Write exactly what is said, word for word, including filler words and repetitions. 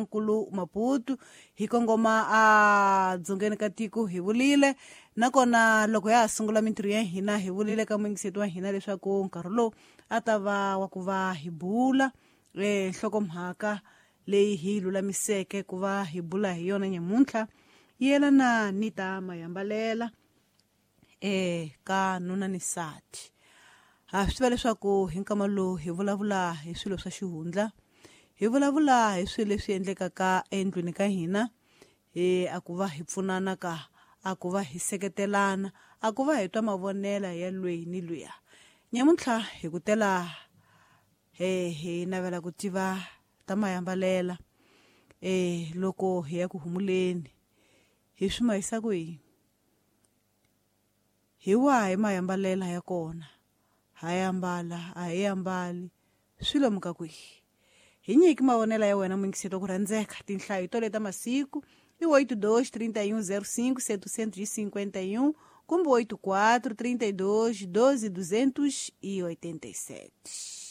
xifundzankulu Maputo hi kongoma a dzongeni ka tiko hi vulile nakona loko ya ha sungula mintirho ya hina hi vulile ka muyingiseti wa hina leswaku nkarhi lowu a ta va wa ku va hi bula eh nhlokomhaka leyi hi lulamiseke ku va hi bula hi yona nyamuntlha yelana ni ta mayambalela eh ka nuna ni nsati. Ha swi tiva leswaku hi nkama lowu hi vulavula hi swilo swa xihundla, hi vulavula hi swilo leswi endlekaka endlwini ka hina, eh a ku va hi pfunana ka a ku va hi seketelana, a ku va hi twa mavonela ya lweyi ni luya. Nyamuntlha hi ku tela eh hi navela ku tiva ta mayambalela eh loko hi ya ku humuleni hi swi mahisa ku yini, hi wahi mayambalela ya kona, ha yambala a hi ambali swi lomuka kwihi. Hi nyiki mavonela ya wena muyingiseti wa ku rhandzeka. Tinhlayo to leta masiku i oito dois trinta e um zero cinco setecentos e cinquenta e um kumbe oito quatro trinta e dois doze duzentos e oitenta e sete.